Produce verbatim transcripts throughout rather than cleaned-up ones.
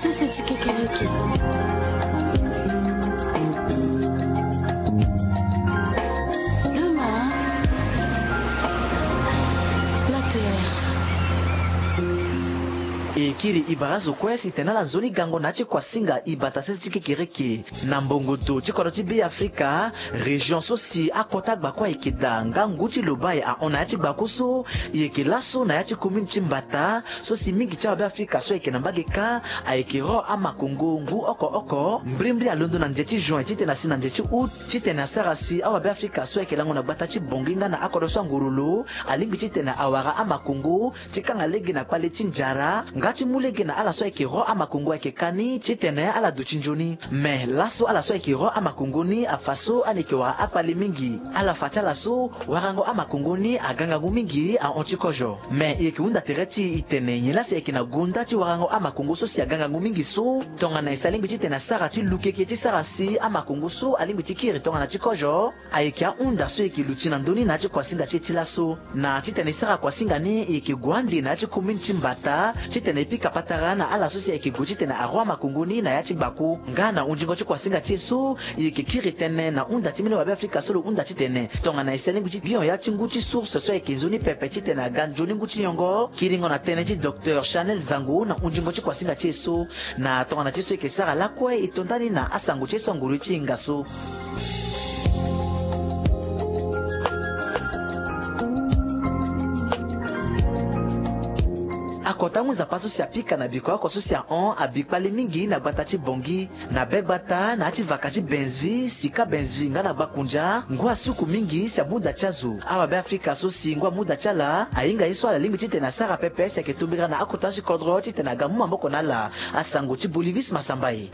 Sese ti kekereke. Demain, la terre. E kiri e bara azo kue si tene ala nzoni gango na ya ti kuasinga e bata sese ti kekereke. Na mbongo do ti kodro ti Be Afrika, région so si akota gbako ayeke daa nga ngu ti lobai ahon na ya ti gbako so, e yeke laso na ya ti commune ti Mbata so si mingi ti awabe Afrika so ayeke na mbage kâ ayeke ro amakongo ngu oko oko. Mbrimbri alondo na nze ti juin titene asi na nze ti août titene asara si awabe Afrika so ayeke lango na gbata ti Bangui nga na akodro so anguru lo alingbi titene awara amakongo ti kanga lege na kpale ti nzara nga ti mu lege na ala so ayeke ro amakongo ayeke kani titene ala duti nzoni. Me laso ala so ayeke ro amakongo ni afa so ala yeke wara akpale mingi. Ala fa ti ala so warango amakongo ni aga ngangu mingi ahon ti kozo. Me e yeke hunda tere ti e tene nyen laa si ayeke na gonda ti warango amakongo so si aga ngangu mingi so tongana e si alingbi titene asara ti lukeke ti sara si amakongo so alingbi ti kiri tongana ti kozo. Ayeke ahunda so e yeke luti na ndö ni na ya ti kuasinga ti e ti laso. Na titene e sara kuasinga ni e yeke gue ande na ya ti commune ti Mbata titene e pika patara na ala so si ayeke gue titene aro amakongo ni na ya ti gbako. Nga na hunzingo ti kuasinga ti e so e yeke kiri tënë na hunda ti mbeni wabe Afrika so lo hunda titene tongana e si alingbi ti gi hon ya ti ngu ti source so ayeke nzoni pepe titene aga nzoni ngu ti nyongo. Kiringo na tënë ti docteur Chanel Zango na hunzingo ti kuasinga ti e so. Na tongana ti so e yeke sara lakue e to ndani na asango ti e so anguru ti hinga so. Akota ngu nzapa so si apika na biko oko so si ahon abi kpale mingi na gbata ti Bangui. Na be gbata na ya ti vaka ti Benzvi, sika Benzvi nga na Gbakunja, ngu asuku mingi si amu da ti azo. Awabe Afrika so si ngu amu da ti ala ahinga ye so ala lingbi titene asara pepe si ayeke tombera na akota ti kodro titene aga mu maboko na ala. Asango ti Bolivis Masambai.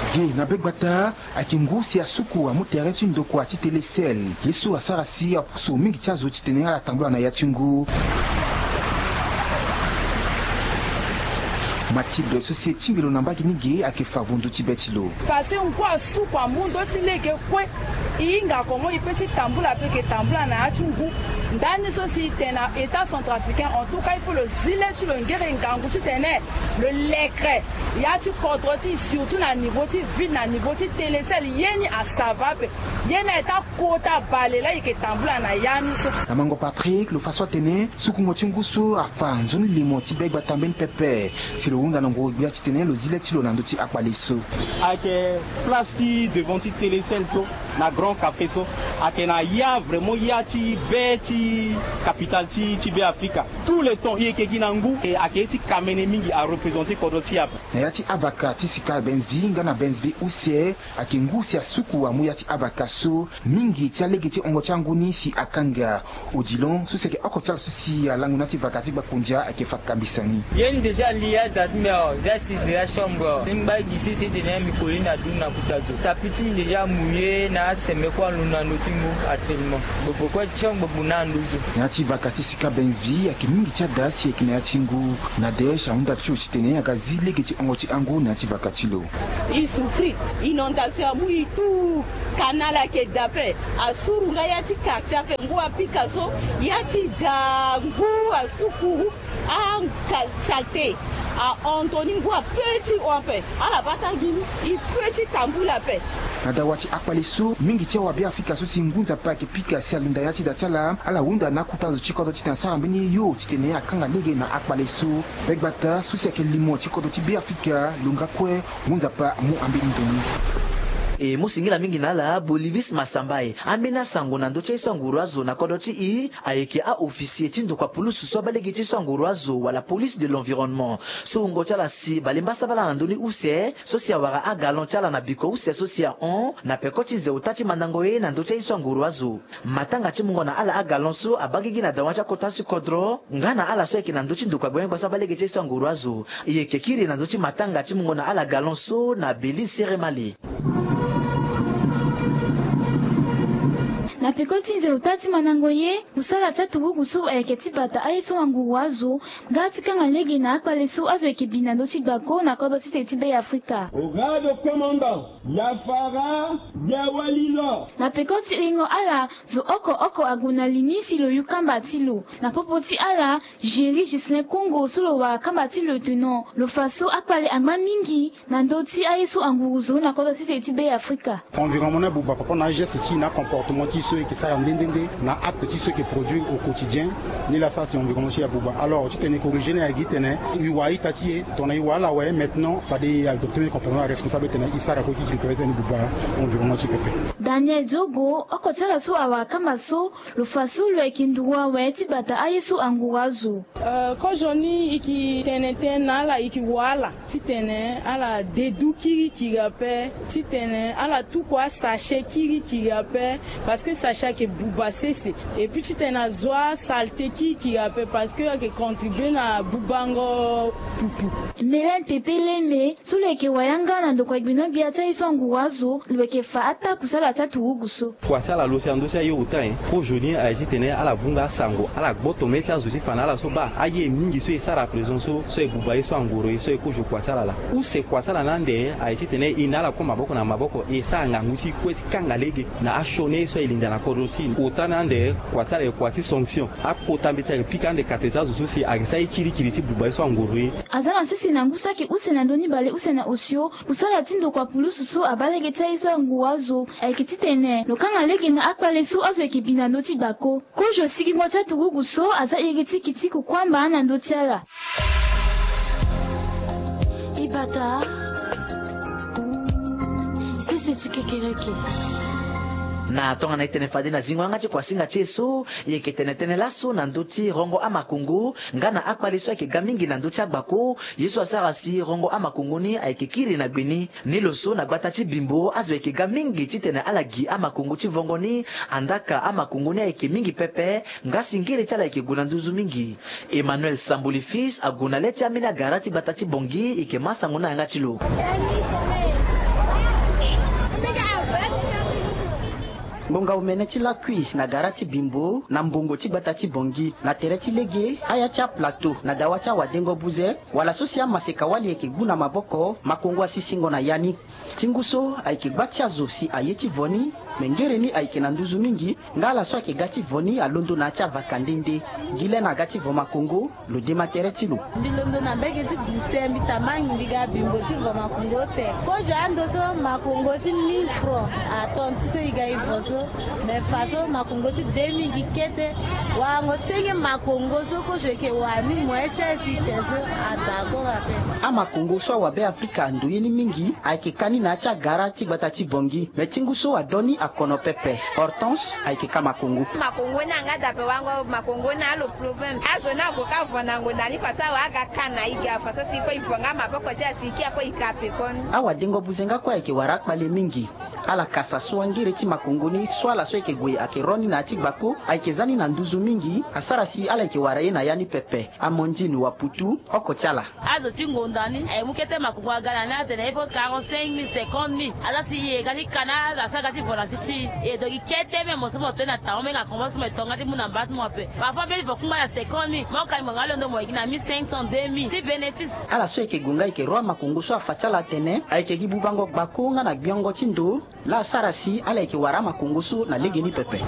Ge na be gbata ayeke ngu si asuku amu tere ti ndokua ti Telecel. Ye so asara si apusu mingi ti azo titene ala tambula na ya ti ngu. Mathilde so si e tingbi lo na mbage ni ge ayeke fa vondu ti be ti lo. Parce que ngu asuku amu ndö ti lege kue. E hinga comment e peut ti tambula, e peut ke tambula na ya ti ngu. Ndani so si e tene na État centrafricain, en tout cas il faut lo zi le ti lo ngere ngangu titene lo lekre ya ti kodro ti e, surtout na niveau ti ville, na niveau ti Telecel, ye ni a ça va ape. Ye ni aye ti akota bale laa e yeke tambula na ya ni so. Na mango Patrick lo fa so atene sukungo ti ngu so afa nzoni limo ti be gbata mbeni pepe. Si lo hunda na nguru gbia titene lo zi le ti lo na ndö ti akpale so. Ayeke place ti devant ti Telecel so, na Grand Café so, ayeke na ya vraiment ya ti be ti capitale ti, ti Be Afrika. Tout le temps e yeke gi na ngu, e ayeke ye ti kamene mingi, areprésenter kodro ti e ape. Na ya ti avaka ti sika Benzvi nga na Benzvi use, ayeke ngu si asuku amu ya ti avaka so. Mingi ti alege ti hongo ti angu ni si akanga. Odilon so si ayeke oko ti ala so si alango na ya ti vaka ti Gbakunja ayeke fa kambisani. Ye ni déjà li ya da ti mbi awe, déjà si déjà chambre awe. Ti ngba gi sese tene mbi koli na dun na kuta zo. Tapi ti mbi déjà mouillé na aseme kue alondo na ndö ti ngu actuellement. Gbogbo kue ti chambre gbogbo na ndö zo. Na ya ti vaka ti sika Benzvi ayeke mingi ti ada si ayeke na ya ti ngu. Nadège ahunda ti lo titene aga zi lege ti hongo ti angu na ya ti vaka ti lo. E souffrir, inondation amu e tout, canal ayeke da ape, asuru nga ya ti quartier ape, ngu apika so, ya ti da ngu asuku, a saleté ahon toni ngu ape ti hon ape, ala bata gi e pe ti tambula ape. Na dawa ti akpale so, mingi ti awabe Afrika so si ngu nzapa ayeke pika si alinda ya ti da ti ala, ala hunda na akota zo ti kodro titene asara mbeni yo titene akanga lege na akpale so. Be gbata so si ayeke limo ti kodro ti Be Afrika lo nga kue, ngu nzapa amu ambeni ndo ni. E mu singila mingi na ala Bolivis Masambai. Ambeni asango na ndö ti aye so anguru azo na kodro ti e ayeke a-officier ti ndokua pulusu so abaa lege ti so anguru azo wala police de l'environnement. So wungo ti ala si balemba sambala na ndö ni use so si awara agalon ti ala na biko use so si ahon na peko ti nze ota ti mandango ye na ndö ti aye so anguru azo. Matanga ti mungo na ala agalon so abaa gigi na dawa ti akota ti kodro nga na ala so ayeke na ndö ti ndokua gbengbengba so abaa lege ti aye so anguru azo. E yeke kiri na ndö ti matanga ti mungo na ala galon so na Belize Seremale. Na peko ti nze ota ti mandango ye, kusala ti aturugu so ayeke ti bata aye so anguru azo nga ti kanga lege na akpale so azo yeke bi na ndö ti gbako na kodro sese ti Be Afrika. Au grade commandant, Yafara Na peko ti ringo ala, zo oko oko ague na li ni si lo yu kamba ti lo. Na popo ti ala, Géry Ghislain Kongo so lo wara kamba ti lo tene lo fa so akpale angba mingi na ndö ti aye so anguru zo na kodro ti se ti Be Afrika. Environnement ni abuba par rapport na ageste ti e na acomportement ti e so e yeke sara nde nde nde na acte ti e so e yeke produire au quotidien. Ni la sara si environnement ti e abuba. Alors titene e corriger ni ayeke gi titene e wara ita ti e tongana e wara ala awe, maintenant fade e adopter même comportement ya responsable titene e sara kue kikiri tene e buba environnement ti e pepe. Daniel Diogo, oko ti ala so awara kamba so, lo fa so lo yeke nduru awe ti bata aye so anguru azo. Euh, kozo ni e ke tene tënë na ala, e ke wa ala titene ala dedu kirikiri ape, titene ala tuku asachet kirikiri ape, parce que sachet ayeke buba sese. Et puis titene azo asalte kirikiri ape, parce que ayeke contribuer na bubango pupu. Mélène Pepe Leme, so lo yeke wayanga na ndokua gbinio-gbia ti aye so anguru azo, lo yeke fa ataa kusala ti aturugu so. Kua ti ala lo si na ndö ti aye ota nyen? Kozo ni aye titene ala vunga asango, ala gboto mê ti azo ti fa na ala so baa aye mingi so e sara à présent so, so e buba ye so angoro ye so e kozo kua ti ala laa. Use kua ti ala ni ande aye titene e na ala kue maboko na maboko e sara ngangu ti e kue ti kanga lege na asioni ye so e linda na kodro ti e. Ota ni ande kua ti ala e kua ti sanction. Akota mbeti ayeke pika ande kate ti azo so si ayeke sara ye kirikiri ti buba ye so angoro ye. Aza na sese na ngu so ayeke use na ndö ni bale use na osio, kusala ti ndokua pulusu so abaa lege ti aye so anguru azo ayeke titene lo kanga lege na akpale so azo yeke bi na ndö ti gbako. Kozo sigingo ti aturugu so aza iri ti kiti kukuamba na ndö ti ala. Ibata, sese ti kekereke. Na tongana e tene fade na zingo yanga ti kuasinga ti e so, e yeke tene tënë laso na ndö ti rongo amakongo nga na akpale so ayeke ga mingi na ndö ti agbako. Ye so asara si rongo amakongo ni ayeke kiri na gbe ni. Ni lo so na gbata ti Bimbo azo ayeke ga mingi titene ala gi amakongo ti vongo ni. Andaka amakongo ni ayeke mingi pepe, nga si ngere ti ala ayeke gue na nduzu mingi. Emmanuel Sambuli Fils ague na le ti ambeni agara ti gbata ti Bangui, e yeke ma sango na yanga ti lo. Ngonga omene ti lakui na gara ti Bimbo na mbongo ti gbata ti Bangui na tere ti lege, aya ti aplateau na dawa ti awadengo buze, wala so si amaseka-wali ayeke gbu na maboko, makongo asisingo na ya ni. Ti ngu so ayeke gba ti azo si aye ti vo ni, me ngere ni ayeke na nduzu mingi, nga ala so ayeke ga ti vo ni alondo na ya ti avaka nde nde. Gi le na aga ti vo makongo, lo dema tere ti lo. Mbi londo na mbege ti Guse, mbi tambangi mbi ga Bimbo ti vo makongo ota. Kozo ando so makongo ti mille francs atonda ti so e ga e vo so. Me fa so makongo ti deux mille gi kete. Warango senge makongo so kozo eke wara ni moins cher si te so adakora ape. Amakongo so awabe Afrika ando ye ni mingi ayeke ka ni na ya ti agara ti gbata ti Bangui. Me ti ngu so adon ni akono pepe. Hortense ayeke ka makongo. Makongo ni anga dape wango makongo ni alo problème. Azo ni ague ka vo na ngonda ni fa so awe aga ka na e ga fa so si kue e vo nga maboko ti asi ki akue e ka pekoni. Awadengo buze nga kue ayeke wara akpale mingi. Ala kasa so angere ti makongo ni so ala so ayeke gue ayeke ro ni na ya ti gbako ayeke za ni na nduzu mingi. Asara si ala yeke wara ye na ya ni pepe. Amandine Waputu, oko ti ala. Azo ti ngonda ni aye mu kete makongo aga na ni atene il faut quarante-cinq mille, cinquante mille. Aza si e ga ti ka na azo asara ga ti vo na ti ti e. E do gi kete me mo so mo to ni na taon me nga kombo so mo e to nga ti mu na mba ti mo ape. Parfois mbeni vo kungba na cinquante mille, mo ka ni mo nga londo mo e gi na mille cinq cents, deux mille ti bénéfice. Ala so ayeke gue nga ayeke ro amakongo so afa ti ala atene ayeke gi bubango gbako nga na gbiongo ti ndo. Laa asara si ala yeke wara amakongo so na legeni pepe.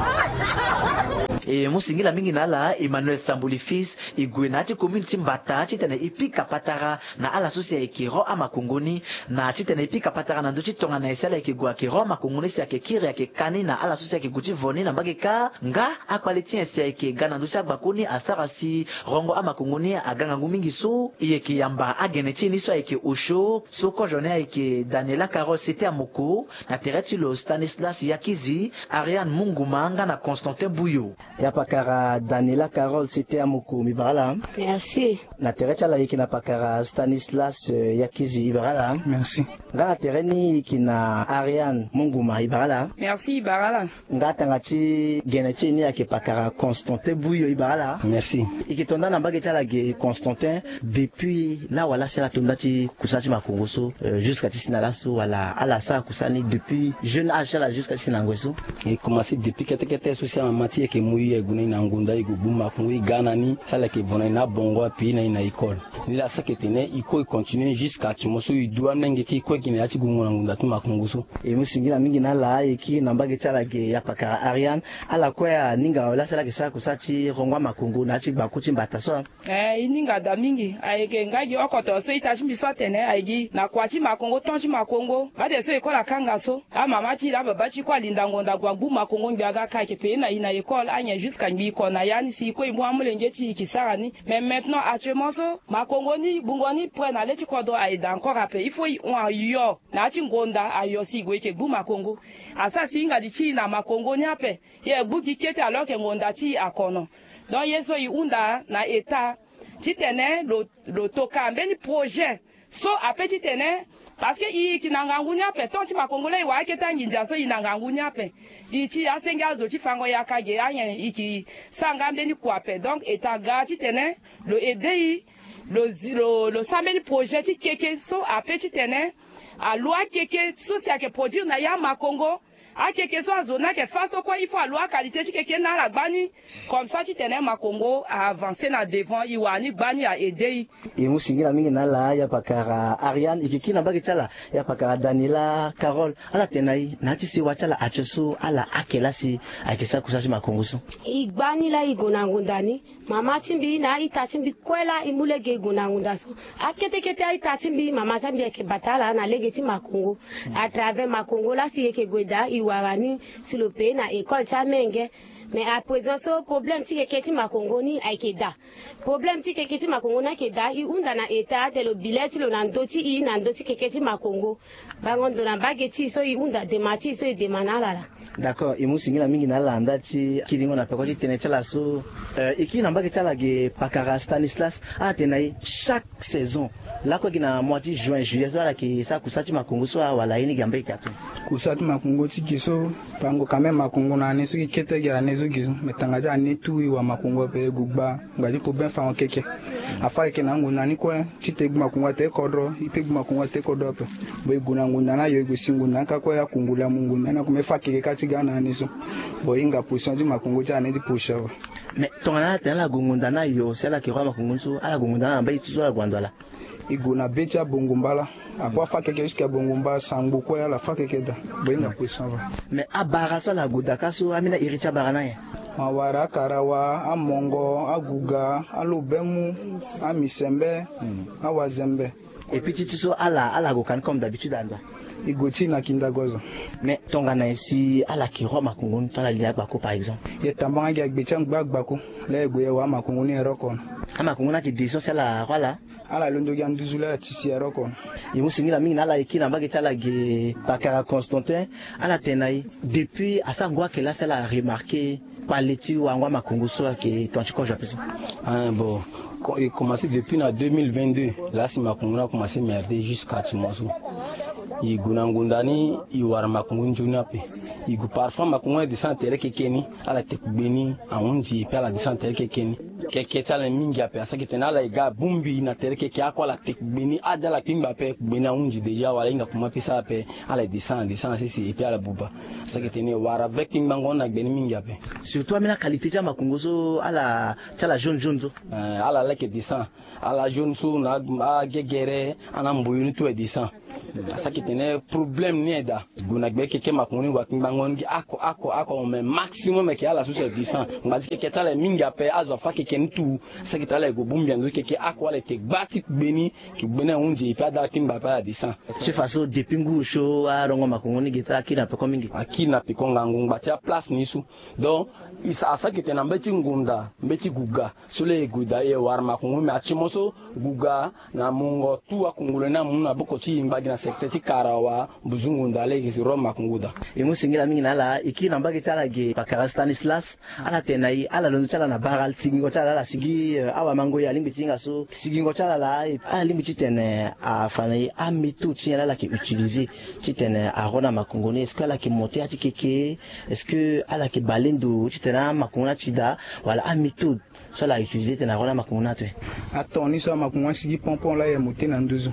E mu singila mingi na ala Emmanuel Sambuli Fils, e gue na ya ti commune ti Mbata titene e pika patara na ala so si ayeke ro amakongo ni. Na titene e pika patara na ndö ti tongana nyen si ala yeke gue ayeke ro amakongo ni si ayeke kiri ayeke ka ni na ala so si ayeke gue ti vo ni na mbage kâ. Nga akpale ti nyen si ayeke ga na ndö ti agbako ni asara si rongo amakongo ni aga ngangu mingi so e yeke yamba agene ti e ni so ayeke osio so kozo ni ayeke Daniela Carole Sete Amoko. Na tere ti lo Stanislas Yakizi, Ariane Munguma nga na Constantin Buyo. Ya pakara Daniela Carole Sete Amoko, mbi bara ala. Merci. Na tere ti ala e yeke na pakara Stanislas, euh, Yakizi, e bara ala. Merci. Nga na tere ni e yeke na Ariane Munguma, e bara ala. Merci, e bara ala. Nga tanga ti gene ti e ni ayeke pakara Constantin Buyo, e bara ala. Merci. E yeke to nda na mbage ti ala ge Constantin. Depuis laa wala si ala to nda ti kusala ti makongo so, euh, jusqu'à ti si na laso wala ala sara kusala ni depuis jeune âge ti ala jusqu'à ti si na ngoi so? E commencé depuis kete kete so si amama ti e ayeke mu e, e gue na e na ngonda, e gue gbu makongo, e ga na ni si ala yeke vo na e na abongo ape, e na e na école. Ni laa saki ete ne e kue e continue jusqu'à ti mo so e du amolenge ti e kue gi na ya ti gungo na ngunda ti makongo so. E mu singila mingi na ala, e kiri na mbage ti ala ge ya pakara Ariane. Ala kue aninga awe laa si ala yeke sara kusala ti rongo amakongo na ya ti gbaku ti mbata so. Eh, e ninga daa mingi. Ayeke nga gi oko tongaso ita ti mbi so atene ayeke gi na kua ti makongo, temps ti makongo, mbade so e kue ala kanga so. Amama ti e na ababa ti e kue alinda ngonda ague agbu makongo ngbi aga ka ayeke payé na e na école anyen jusqu'à ngbi e ko na ya ni si e kue e mu amolenge ti e e ke sara ni. Mais maintenant actuellement so makongo ni gbungo ni prêt na le ti kodro aye daa encore ape. Il faut e hon ayo na ya ti ngonda ayo si e gue e ke gbu makongo. Asara si e hinga li ti e na makongo ni ape. E gbu gi kete alors que ngonda ti e akono. Donc ye so e hunda na état titene lo, lo toka mbeni projet so ape titene, parce que e yeke na ngangu ni ape, temps ti makongo laa e wara akete anginza so e na ngangu ni ape. E ti asenge azo ti fango yaka ge anyen e ke sara nga mbeni kua ape. Donc état ga titene lo aider e, lo zi, lo, lo sara mbeni projet ti keke so ape titene alo akeke so si ayeke produire na ya makongo. Akeke so azo ni ayeke fâ so kue il faut alo aqualité ti keke ni na ala gbani. Comme ça titene makongo a avancer na devant, e wara ni gbani a aider e. E mu singila mingi na ala ya pakara Ariane. E ke kiri na mbage ti ala ya pakara Daniela Carole. Ala tene na e na ya ti sewa ti ala atie so ala ake laa si ayeke sara kusala ti makongo so. E gbani laa e gue na ngonda ni. Mama ti mbi na a-ita ti mbi kue laa e mu lege e gue na ngonda so. Akete kete a-ita ti mbi, mama ti mbi ayeke bata ala na lege ti makongo. À travers makongo laa si e yeke gue daa e wara ni si lo payé na école ti amenge. Mais à présent so problème ti keke ti makongo ni ayeke daa. Problème ti keke ti makongo ni ayeke daa, e hunda na état ate lo bi le ti lo na ndö ti e na ndö ti keke ti makongo. Bango ndo na mbage ti e so e hunda dema ti e so e dema na ala laa. D'accord, e mu singila mingi na ala nda ti kiringo na peko ti tënë ti ala so. Eh, e kiri na mbage ti ala ge pakara Stanislas. Ala tene na e chaque saison lakue gi na mois ti juin, juillet so ala yeke sara kusala ti makongo so, awala ye ni ge ambeni ge ato. Kusala ti makongo ti ge so, bango quand même makongo na ane so gi kete gi ane so gi so, me tanga ti ane tout e wara makongo ape, e gue gba ngba ti problème fango keke. Afâ keke na angonda ni kue. Ti te gbu makongo ate kodro, e pe gbu makongo ate kodro ape. Bon, e gue na ngonda ni ayo, e gue si ngonda ni kâ kue, akungula mu ngonda ni akome fâ keke kâ ti ga na ane so. Bon, e hinga position ti makongo ti ane ti position awe. Mais tongana ala tene ala gue ngonda ni ayo si ala yeke roi makongo ni so, ala gue ngonda ni na mbage ti so ala gue na ndo ala? E gue na be ti abongo mbala. Akua fâ keke jusqu'à bongo mbala sangbo kue ala fâ keke daa. Bon, e hinga position awe. Mais abara so ala gue daa kâ so, ambeni iri ti abara ni anyen? Awara, akarawa, amongo, aguga, alobemu, amisembe, awazembe. Et puis ti ti so ala, ala gue ka ni comme d'habitude ando? E gue ti e na kindago azo. Mais tongana nyen si ala yeke roi makongo ni to ala li agbako par exemple? E tambanga gi agbe ti angba agbako. Laa e gue e wara makongo ni e roko. Amakongo ni ayeke descend si ala roi laa? Ala londo gi anduzu laa ala ti si e roko. E mu singila mingi na ala, e kiri na mbage ti ala ge pakara Constantin. Ala tene na e depuis asango ayeke laa si ala remarquer kpale ti wango amakongo so ayeke ton ti kozo ape so? Ah, bon, e commencé depuis na deux mille vingt-deux laa si makongo ni akomanse merde jusqu'à ti mo so. E gue na ngonda ni, e wara makongo ni nzoni ape. E gue parfois makongo ni adescend na tere keke ni, ala te kugbe ni ahunzi e pe ala descend na tere keke ni. Keke ti ala mingi ape, asaki tene ala e ga bongbi na tere keke, ako ala te kugbe ni ade ala kpingba ape, kugbe ni ahunzi déjà wala e hinga kuma pe sara ape. Ala e descend, descend sese e pe ala buba. Asaki tene e wara vrai kpingbango ni na gbe ni mingi ape. Surtout ambeni qualité ti amakongo so ala ti ala jaune jaune so? Eh, ala leke descend. Ala jaune so na agegere, ana mboyo ni tout e descend. Asaki tene problème ni e daa. Gue na gbe keke makongo ni wa kpingbango ni gi ako ako ako, mais maximum eke ala so si e descend. Ngba ti keke ti ala e mingi ape, azo afa keke ni tout. Asaki tene ala e gue bongbi ando ti keke ako ala e te gba ti kugbe ni. Kugbe ni ahunzi e pe ade ala kpingba ape ala descend. Ti fa so depuis ngu so arongo makongo ni ge ti ala akiri na peko mingi? Akiri na peko ngangu ngba ti aplace ni so. Donc e sa, asaki tene na mbeti ngonda, mbeti guga so laa e gue daa e wara makongo, mais ati mo so guga na mungo tout akungula ni amu na boko ti e ngba gi na secteur ti karawa buzungu nda laa e ke si roi makongo daa. E mu singila mingi na ala. E kiri na mbage ti ala ge pakara Stanislas. Ala tene na e ala londo ti ala na bara sigingo ti ala laa, ala sigi, eh, awamango e alingbi ti hinga so sigingo ti ala laa, ala lingbi titene afa na e améthode ti nyen laa ala yeke utiliser titene aroi na makongo ni? Est-ce que ala yeke monter ya ti keke? Est-ce que ala yeke bale ndo titene amakongo ni ati daa? Wala améthode so ala utiliser titene aroi na amakongo ni ato? Aton ni so amakongo ni asigi pon pon laa e monter na nduzu.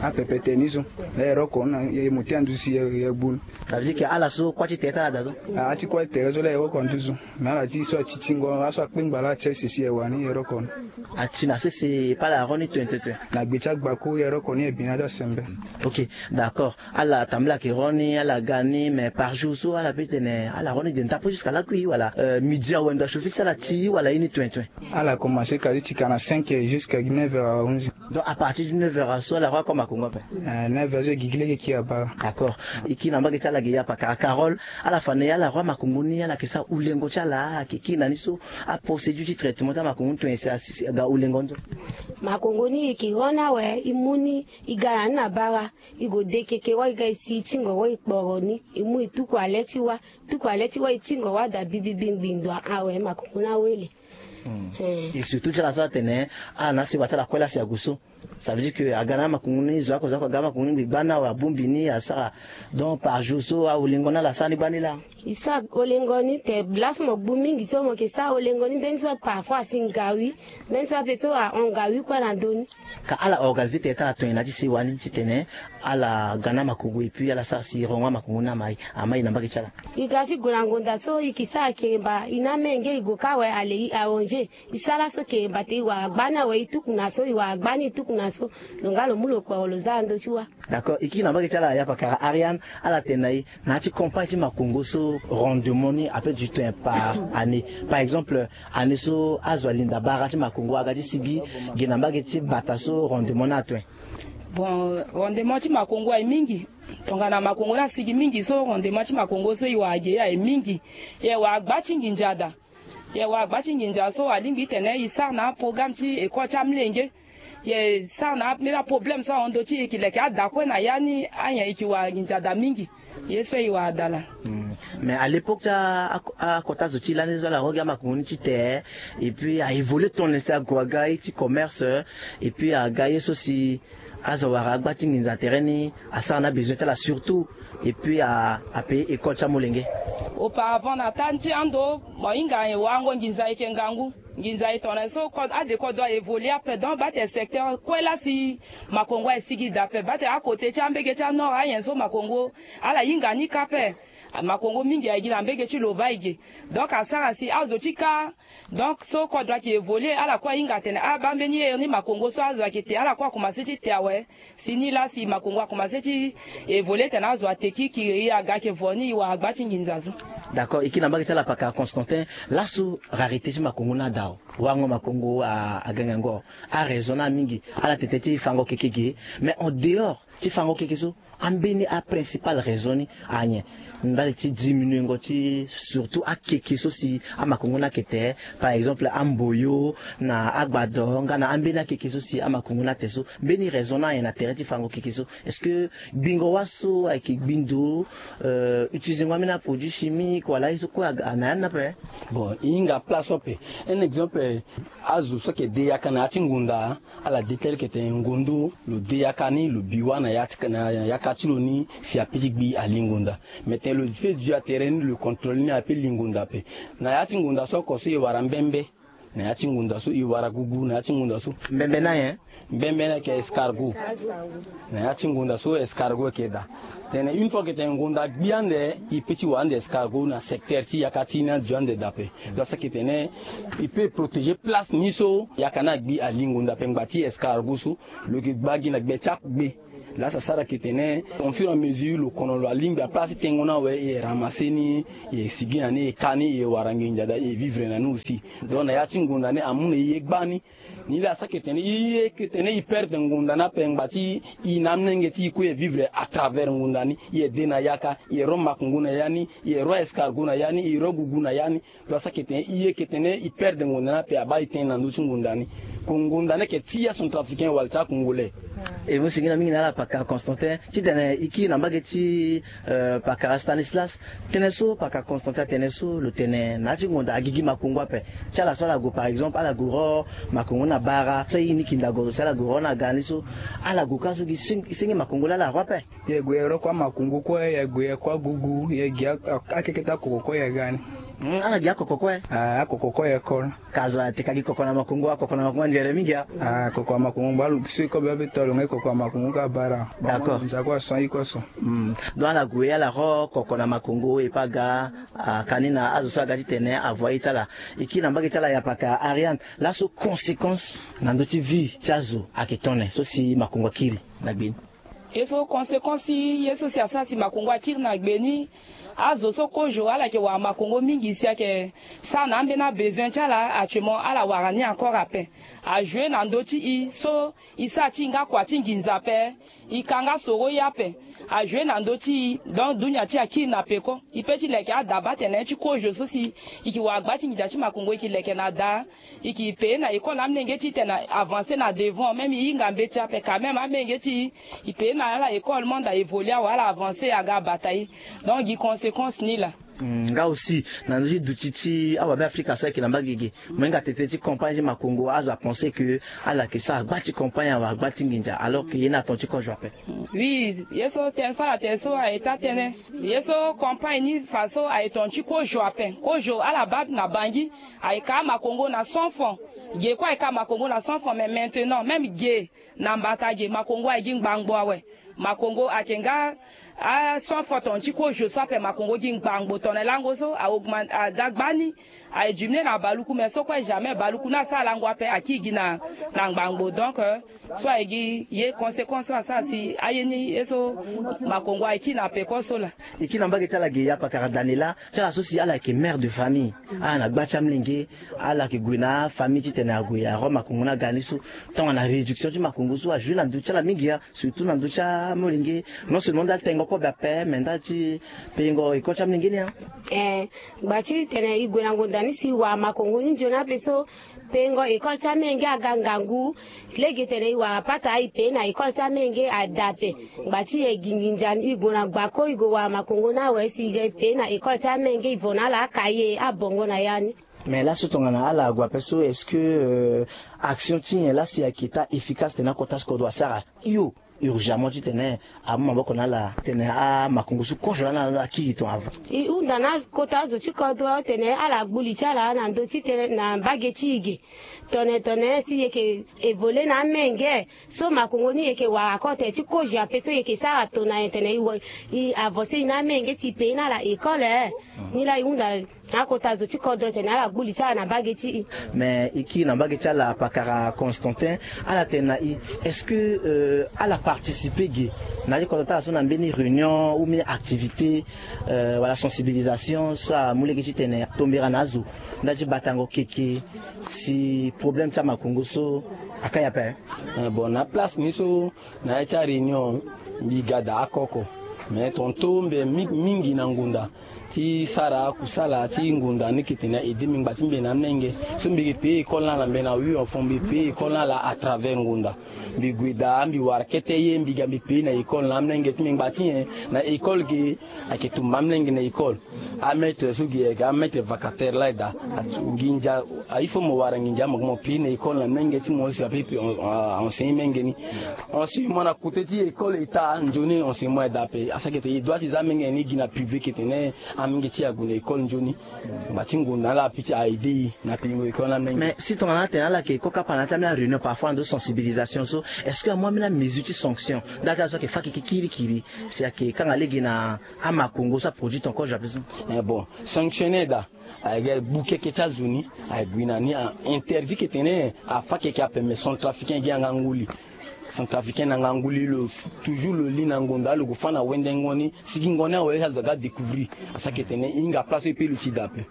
Apepe tene ni so. La e roko na ye mo ti anduzu si ye gbu ni. Ça veut dire que ala so kuâ ti tere ti ala daa so. Ah, ti kuâ ti tere so la e roko anduzu. Mais ala ti so atitingo aso akpengba la ati sese si e wani e roko ni. Ati na sese e pa ala ro ni tuen tuen tuen. Na gbe ti agbako e roko ni e bi na ti asembe. Ok, d'accord. Ala tambula ke ro ni ala ga ni mais par jour so ala pe tene ala ro ni de nda pe jusqu'à lakui wala midi awe ndo achofi si ala ti wala ye ni tuen tuen? Ala commence kadi ti ka na cinq heures jusqu'à neuf heures à onze heures. Donc à partir du neuf heures so ala ro akoma makongo ape? Neuf heures so e gigi lege kiri abaa. D'accord. E kiri na mbage ti ala ge ya pakara carole. Ala fa na ye ala ro amakongo ni ala ke sara ulengo ti ala ake kiri na ni so? Aprocédure ti traitement ti amakongo ni tuen si asi ga ulengo ni so? Makongo ni e ke ro ni awe e mu ni e ga na ni na bara. E go de keke wai ga e si e tingo wai e kporo ni e mu e tuku ale ti wâ. Tuku ale ti wâ e tingo wâ daa bibibi ngbindua awe makongo ni awele. Et surtout ti ala so atene ala na asi wa ti ala kue lasi ague so. Ça veut dire que aga na amakongo ni zo ako zo ako aga amakongo ni ngbi gbani awe abongbi ni asara. Donc par jour so aolengo ni ala sara ni gbani laa? E sara olengo ni te lasi mo gbu mingi so mo ke sara olengo ni mbeni so parfois asi ngawi. Mbeni so ape so ahon ngawi kue na ndö ni. Ka ala organiser tere ti ala tongana ti si wani titene ala ga na amakongo et puis ala sara si rongo amakongo ni amai amai na mbage ti ala? E ga ti gue na ngonda so e ke sara keremba e na menge e go kâ awe ale e arranger. E sara so keremba te e wara gbani awe e tuku na so e wara gbani e tuku na so. Lo nga lo mu lo kporo lo za na ndö ti wâ. D'accord. E kiri na mbage ti ala ya pakara ariane. Ala tene na e na ya ti campagne ti makongo so rendement ni ape du temps par année? Par exemple année so azo alinda bara ti makongo aga ti sigi gi na mbage ti bata so rendement ni atuen? Bon, rendement ti makongo aye mingi. Tongana makongo ni asigi mingi so rendement ti makongo so e wara ge aye mingi. E wara gba ti nginza daa. E wara gba ti nginza so alingbi titene e sara na aprogramme ti école ti amolenge. E sara na ambeni aproblème so ahon ndö ti e e ke leke ada kue na ya ni. Anyen e ke wara nginza daa mingi. Ye so e wara daa laa. Mais à l'époque ti akota zo ti lani so ala ro gi amakongo ni ti te et puis a évoluer tongana si ague aga ye ti commerce et puis aga ye so si azo awara agba ti nginza tere ni asara na besoin ti ala surtout et puis apayer école ti amolenge. Auparavant na taa ti ando mo hinga warango nginza ayeke ngangu. Nginza aye tongana so ade kodro a évoluer ape donc bate secteur kue lasi makongo aye sigi daa ape bate akote ti ambege ti anord anyen so makongo ala hinga ni kâ ape. Makongo mingi aye gi na mbege ti loba ege. Donc asara si azo ti kâ. Donc so kodro ayeke évoluer ala kue ahinga atene abaa mbeni here ni makongo so azo ayeke te ala kue akomanse ti te awe. Si ni laa si makongo akomanse ti évoluer tene azo ate kirikiri e aga ayeke vo ni e wara gba ti nginza so. D'accord e kiri na mbage ti ala pakara constantin. Laso rarité ti makongo ni ada o. Warango makongo aga ngangu o. Araison ni amingi. Ala tete ti fango keke ge. Mais en dehors ti fango keke so ambeni aprincipale raison ni anyen? Ndali ti diminuengo ti surtout akeke so si amakongo ni ayeke te. Par exemple amboyo na agbado nga na ambeni akeke so si amakongo ni ate so mbeni raison ni anyen na tere ti fango keke so? Est-ce que gbingo wâ so ayeke gbi ndo? Utilizengo ambeni aproduit chimique wala aye so kue aga na ya ni ape? Bon e hinga place so ape. Un exemple azo so ayeke de yaka na ya ti ngonda ala de tel ke tene ngondo lo de yaka ni lo bi wâ na yaka ti lo ni si ape ti gbi ali ngonda. Mais tene lo pe du atere ni lo contrôle ni ape li ngonda ape. Na ya ti ngonda so oko so e wara mbembe. Na ya ti ngonda so e wara gugu na ya ti ngonda so. Mbembe ni ayen? Mbembe ni ayeke escargot. Na ya ti ngonda so escargot ayeke daa. Tene une fois ke tene ngonda agbi ande e pe ti wara ande escargot na secteur ti yaka ti ni adu ande daa ape. Donc saki tene e pe protégé place ni so yaka ni agbi ali ngonda ape ngba ti escargot so. Lo yeke gba gi na gbe ti akugbe. Laa sa sara ke tene au fur et à mesure lo kono lo alingbi aplace ti tengo ni awe e ramasse ni. E sigi na ni e ka ni e wara nginza daa e vivre na ni aussi. Donc na ya ti ngonda ni amu na e ye gbani. Ni laa sa ke tene e ye ke tene e perdre ngonda ni ape ngba ti e na amolenge ti e kue e vivre à travers ngonda ni. E de na yaka e ro makongo na ya ni e ro escargot na ya ni e ro gugu na ya ni. Donc asara ke tene e ye ke tene e perdre ngonda ni ape abaa e tene na ndö ti ngonda ni. Ko ngonda ni ayeke ti acentrafricain wala ti acongolais. E mu sigi na mingi na ala pakara constantin titene e kiri na mbage ti pakara stanislas. Tënë so pakara constantin atene so lo tene na ya ti ngonda agigi makongo ape. Ti ala so ala gue par exemple ala gue ro makongo na bara so aye ni kindago so ala gue ro na ga ni so. Ala gue kâ so gi senge makongo laa ala ro ape. Ye gue ye ro kua makongo kue ye gue ye kua gugu ye gi akeke ti akoko kue ye ga ni. Hmm, ala gi akoko kue. Ah, akoko kue école. Ka zo ate ka gi koko na makongo, akoko na makongo anzere mingi a. Ah, koko na makongo ba lu so iko be be tolo ngai koko na makongo ka bara. D'accord. Nza ko son iko son. Hmm. Donc ala gue ala ro koko na makongo e pa ga, ah, kani na azo so aga ti tene avoye ti ala. E kiri na mbage ti ala ya paka Ariane. Laso conséquence na ndö ti vie ti azo ayeke tongana nyen so si makongo akiri na gbe ni? Ye so conséquence ti ye so si asara si makongo akiri na gbe ni. Azo so kozo ala yeke wara makongo mingi si ayeke sara na ambeni abesoin ti ala actuellement ala wara ni encore ape. Ajoue na ndö ti e so e sara ti e nga kua ti nginza ape. E ka nga soro ye ape. Ajoue na ndö ti e donc dunia ti e akiri na peko. E pe ti leke adaba tene ti kozo so si e yeke wara gba ti nginza ti makongo e yeke leke na da. E yeke paye na école amolenge ti e tene avance na devant même e hinga mbeti ape quand même amolenge ti e e paye na ala école monde a évolue awe ala avance aga abata e. Donc gi conséquence ni laa. Hmm, nga aussi na ndö ti duti ti awabe afrika so ayeke na mbage ge mo hinga tete ti campagne ti makongo azo apense ke ala yeke sara gba ti campagne awe gba ti nginza alors ke ye ni aton ti kozo ape. Oui, ye so tënë so ala tene so aye taa tënë. Ye so campagne ni fa so aye ton ti kozo ape kozo ala baa na bangi. Aye ka amakongo na cent francs. Ge kue aye ka amakongo na cent francs mais maintenant même ge na mbata ge makongo aye gi ngbangbo awe. Makongo ayeke nga a cent francs ton ti kozo so ape makongo gi ngbangbo tongana lango so augmente aga gba ni. Aye diminuer na baluku mais so kue jamais baluku ni asara lango ape akiri gi na ngbangbo donc so aye gi ye conséquence so asara si aye ni ye so makongo aye kiri na peko so laa. E kiri na mbage ti ala ge ya pakara daniela ti ala so si ala yeke mère de famille. Ala na gba ti amolenge ala yeke gue na afamille titene ague aro makongo ni aga ni so. Tongana réduction ti makongo so ajoue na ndö ti ala mingi ya. Surtout na ndö ti amolenge. Non seulement nda ti tengo kobe ape mais nda ti payengo école ti amolenge ni ya. Eh, gba ti tene e gue na ngonda ni si e wara makongo ni nzoni ape so. Payengo école ti amenge aga ngangu. Lege tene e wara pata e paye na école ti amenge ada ape. Gba ti e gi nginza ni e gue na gbako e gue wara makongo ni awe si e paye na école ti amenge e vo na ala akaye abongo na ya ni. Mais laso tongana ala ague ape so est-ce que action ti nyen lasi ayeke taa efficace tene akota ti kodro asara? Iyo. Urgemment titene amu maboko na ala titene amakongo so kozo lani akiri ton avant. E hunda na akota azo ti kodro tene ala gbu li ti ala na ndö ti tene na mbage ti e ge. Tone tone si e yeke évoluer na amenge so makongo ni e yeke wara kota ti kozo ape so e yeke sara tona e tene e avancer e na amenge si e paye na ala école. Ni laa e hunda na akota zo ti kodro tene ala gbu li ti ala na mbage ti e. Mais e kiri na mbage ti ala pakara constantin. Ala tene na e est-ce que ala participer ge na ya ti kodro ti ala so na mbeni réunion ou mbeni activité wala sensibilisation so amu lege titene atombera na azo nda ti batango keke si problème ti amakongo so akai ape? Bon na place ni so na ya ti aréunion mbi ga daa akoko. Mais tonto mbi mingi na ngunda ti sara akusala ti ngunda ni yeke tene aide mbi ngba ti mbi na amenge. So mbi yeke paye école ni ala mbi na wi enfant mbi paye école ni ala à travers ngunda. Mbi gue daa mbi wara kete ye mbi ga mbi paye na école na amenge ti mbi ngba ti nyen na école ge. Ayeke tumba amolenge na école. Amaître so gi ayeke amaître vacataire laa e daa. Nginza il faut mo wara nginza mo mo piri na école na menge ti mo si ape pe enseigner menge ni. Enseignement na kote ti école état nzoni enseignement e daa ape asaki ete e doit ti za amenge ni gi na privé ke tene amenge ti e ague na école nzoni. Ngba ti ngonda ala ape ti a aide e na peingo école na menge. Mais si tongana atene ala yeke koko apa na ya ti ambeni aréunion parfois na ndo sensibilisation so est-ce que amu ambeni amesure ti sanction nda ti ala so ayeke fa keke kirikiri? Si ayeke kanga lege na amakongo so aproduit ton kozo ape so. Eh bon, sanctionner daa. Ayeke gbu keke ti azo ni. Aye gui na ni a interdit ke tene afa keke ape mais centrafricain gi anga nguli. Centrafricain na nga nguli lo toujours lo li na ngonda lo gue fa na wendengo ni. Sigingo ni awe ti azo aga découvrir asaki ete ne e hinga place so e pe lo ti daa ape.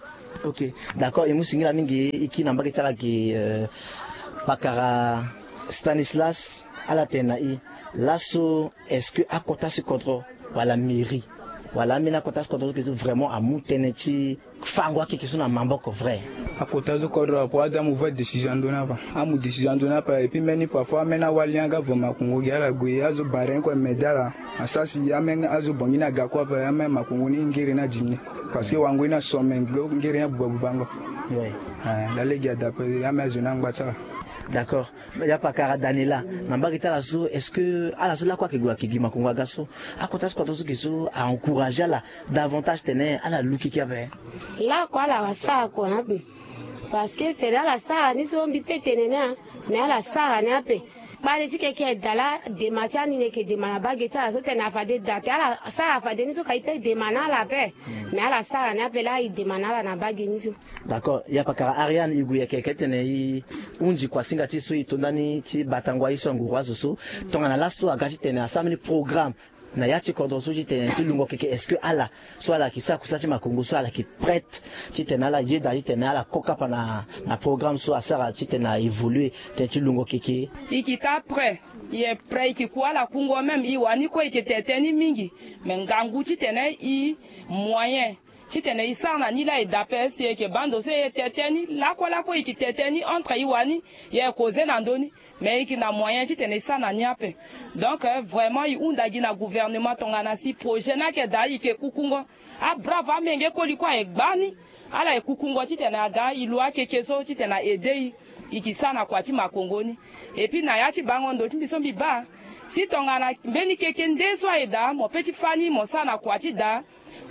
Ok. D'accord e mu singila mingi e kiri na mbage ti ala gi. Pakara stanislas ala tene na e laso est-ce que akota si kodro wala mairie wala ambeni akota si kodro so ke so vraiment amu tënë ti fango akeke so na maboko vrai? Akota so kodro apo ade amu vrai décision ando ni afa amu décision ando ni ape et puis mbeni parfois ambeni awali ni aga vo makongo gi ala gue azo bare ni kue mede ala. Asara si ambeni azo bongi ni aga kue ape ambeni makongo ni ngere ni adimi ni. Parce que wango ni asome ngere ni abuba bubango. Laa lege ada ape ambeni azo ni angba ti ala. D'accord. Ya pakara Daniela, na mbage ti ala so, est-ce que ala so lakue ayeke gue ayeke gi makongo aga so, akota so kodro so ge so a encourager ala davantage titene ala lu keke ape? Lakue ala sara kua na ape. Parce que tene ala sara ni so mbi pe tene ni a, mais ala sara ni ape. Kpale ti keke eda la dema ti ani ni eke dema na bage ti ala so tene afade da te ala sara afade ni so ka i pe dema na ala ape. Mais ala sara ni ape la i dema na ala na bage ni so. D'accord. Ya pakara Ariane, i gue yeke yeke tene i hunzi kuasinga ti so i to ndani ti batango aye so anguru azo so. Tongana laso aga titene asara mbeni programme na ya ti kodro so titene ti lungo keke, est-ce que ala so ala yeke sara kusa ti makongo so ala yeke prête titene ala yeda titene ala ko kapa na, na programme so asara titene a évoluer tene ti lungo keke? I kita prêt. I ye prêt, i ke ku ala kungo même, i wani kue i ke tete ni mingi. Mais ngangu titene i moyen titene i sara na ni la e da ape, si e yeke baa ndo so e ye tete ni lakue lakue, i ke tete ni entre i wani, i ye causer na ndö ni. Mais i ke na moyen titene i sara na ni ape. Donc, euh, vraiment i hunda gi na gouvernement tongana si projet ni ayeke daa i ke kukungo. Abrave amenge koli kue aye gba ni. Ala ye kukungo titene aga i lu akeke so titene a aider i. I ke sara na kua ti makongo ni. Et puis na ya ti bango ndo ti mbi so mbi baa, si tongana mbeni keke nde so aye daa mo pe ti fâ ni mo sara na kua ti daa.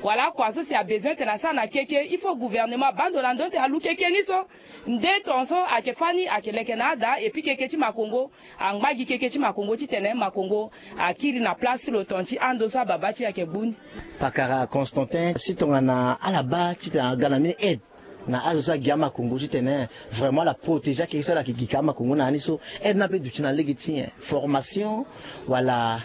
Wala kua so si a besoin tene asara na keke, il faut gouvernement abaa ndo na ndö ti tene alu keke ni so. Nde ton so ayeke fâ ni ayeke leke na ada, et puis keke ti makongo angba gi keke ti makongo titene makongo akiri na place ti lo ton ti ando so ababa ti e ayeke gbu ni. Pakara Constantin, si tongana ala baa titene aga na mbeni aide na azo so agi amakongo titene vraiment ala protéger akeke so ala yeke gi ka amakongo na ya ni so, aide ni ape duti na lege ti nyen? Formation wala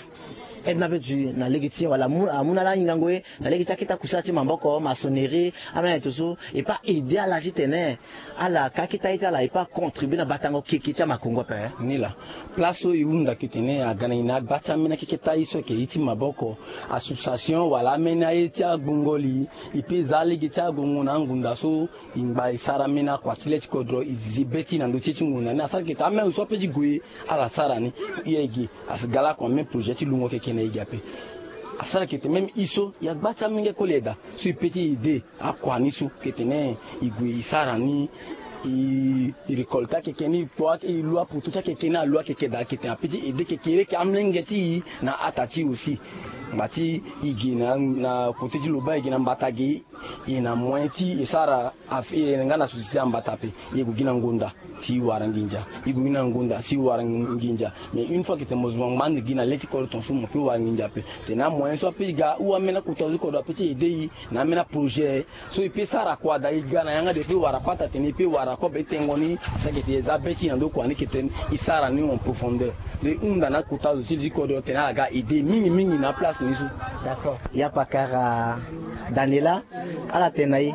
aide ni ape duti na lege ti nyen? Wala amu, amu na ala hingango ye na lege ti akete akusala ti maboko, maçonnerie, ambeni aye to so, e pe a aider ala titene ala ka akete aye ti ala e pe a contribuer na batango keke ti amakongo ape? Ni laa. Place so e hunda ke tene aga na e na agba ti ambeni akeke ti aye so ayeke ye ti maboko, association wala ambeni aye ti agbongo li, e pe za lege ti agongo na angunda so, e ngba e sara ambeni akua ti le ti kodro, e zi be ti e na ndö ti e ti ngonda ni. Asara ke tene amenge so ape ti gue ala sara ni. E ye e gi, asi ga lakue même projet ti lungo keke na e gi ape. Asara ke tene même e so e agba ti amenge koli eda so e pe ti aider akua ni so ke tene e gue e sara ni, e récolte akeke ni, e kpo ake, e lu apoto ti akeke ni, alu akeke daa ke tene ape ti aider keke leke amenge ti e na ata ti e aussi. Ngba ti e gi na, na côté ti Loba, e gi na mbata ge, e na moyen ti e sara afe, e nga na société ambata ape, e gue gi na ngonda si e wara nginza, e gue gi na ngonda si e wara nginza. Mais une fois ke tene mo zo mo ngba ande gi na le ti kodro ton so mo pe wara nginza ape. Tene amoyen so ape e ga ou ambeni akota zo ti kodro ape ti aider e na ambeni aprojet so e pe sara kua daa, e ga na yanga de e pe wara pata tene e pe wara kobe ti tengo ni. Asara ke tene e za be ti e na ndo kua ni ke tene e sara ni en profondeur. Donc e hunda na akota zo ti le ti kodro tene ala ga aider e mingi mingi na aplace ni so. D'accord. Ya pakara Daniela, ala tene na e,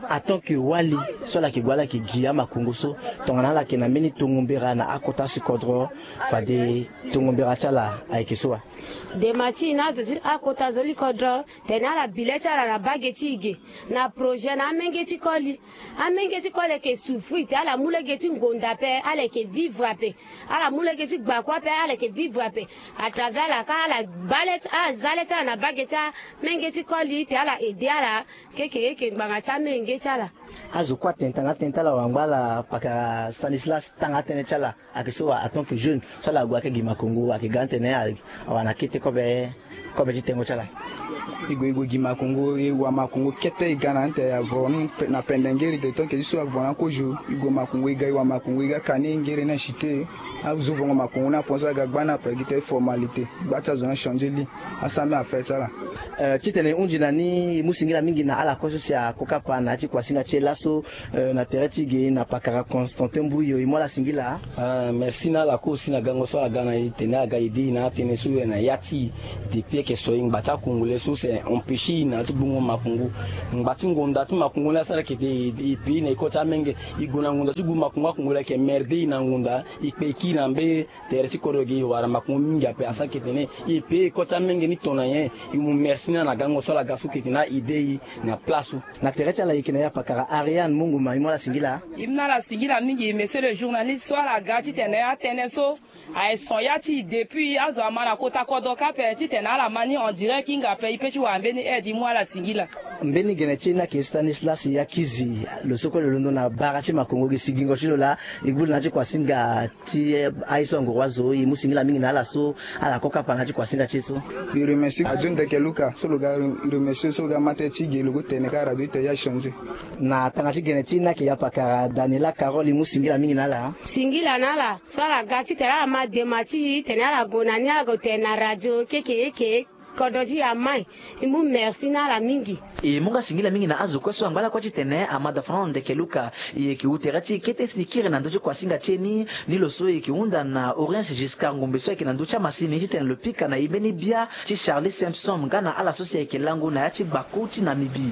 en tant que wali so ala yeke gue ala yeke gi amakongo so, tongana ala yeke na mbeni tongo mbera na akota ti kodro, fade tongo mbera ti ala ayeke so wa? Dema ti e na azo ti akota zo ti kodro, tene ala bi le ti ala na bage ti e ge, na projet na amenge ti koli. Amenge ti koli ayeke souffrir te, ala mu lege ti ngonda ape, ala yeke vivre ape. Ala mu lege ti gbakua ape, ala yeke vivre ape. À travers ala ka ala baa le ti, ala za le ti ala na bage ti amenge ti koli te ala aider ala. Keke eke ngbanga ti amenge ti ala. Azo kue atene tanga tënë ti ala wala ngba ala, pakara Stanislas, tanga tënë ti ala ayeke so wa, en tant que jeune so ala gue ayeke gi makongo, ayeke ga tene a, awara na kete kobe, kobe ti tengo ti ala? E gue, e gue gi makongo, e wara makongo kete, e ga na ante avo ni pe-, na pende ngeri de, tant que ti so avo na kozo, e gue makongo, e ga, e wara makongo, e ga ka ni ngeri na site. Azo vongo makongo ni apense aga gba ni ape gi te formalité. Gba ti azo ni achanger li. Asara mbeni affaire ti ala. Euh, titene e hunzi na ni, e mu singila mingi na ala kue so si ako kapa na ya ti kuasinga ti e laso, euh, na tere ti e ge na pakara Constantin Mbuyo, e mu ala singila. Ah, merci na ala kue aussi na gango so ala ga na e tene aga aider e na atënë so na ya ti e. Depuis ayeke so e ngba ti akongolais so c'est empêcher e na ya ti gbungo makongo. Ngba ti ngonda ti makongo ni asara ke tene e, e pays na e kota amenge. E gue na ngonda ti gu makongo, akongolais ayeke emmerder e na ngonda, e kpe e kiri na mbeni tere ti kodro ge, e wara makongo mingi ape. Asara ke tene e pays e kota amenge ni to na nyen. E mu merci na ala na gango so ala ga so ke tene a aider e na place so. Na tere ti ala e yeke na ya pakara Ariane Munguma, e mu ala singila. E mu na ala singila mingi, monsieur le journaliste, so ala ga titene atënë so aye son ya ti e depuis azo ama na kota kodro kâ ape titene ala ma ni en direct hinga ape, e pe ti wara mbeni aide, e mu ala singila. Mbeni gene ti e ni ayeke Stanislas Yakizi. Lo so kue lo londo na bara ti makongo gi sigingo ti lo laa. E gbu na ya ti kuasinga ti aye so anguru azo e mu singila mingi na ala so ala kue kapa na ya ti kuasinga ti e so. E remercie ajo ndeke luka so lo ga remercie so lo ga ma tënë ti ge lo go tene kâ radio ti tene ya échanger. Na tanga ti gene ti e ni ayeke ya pakara Daniela Carole e mu singila mingi na ala. Singila na ala so ala ga ti tene ala ma dema ti e tene ala gue na ni ala gue tene na radio keke eke. Kodro ti e amai. E mu merci na ala mingi. E mu nga singila mingi na azo kue so angba lakue ti tene amada Fernando ndeke luka. E yeke wu tere ti e kete ti kiri na ndö ti kuasinga ti e ni. Ni lo so e yeke hunda na Oriens Giscard ngombe so ayeke na ndö ti amasini ti tene lo pika na e mbeni bia ti Charlie Simpson nga na ala so si ayeke lango na ya ti gbaku ti Namibie.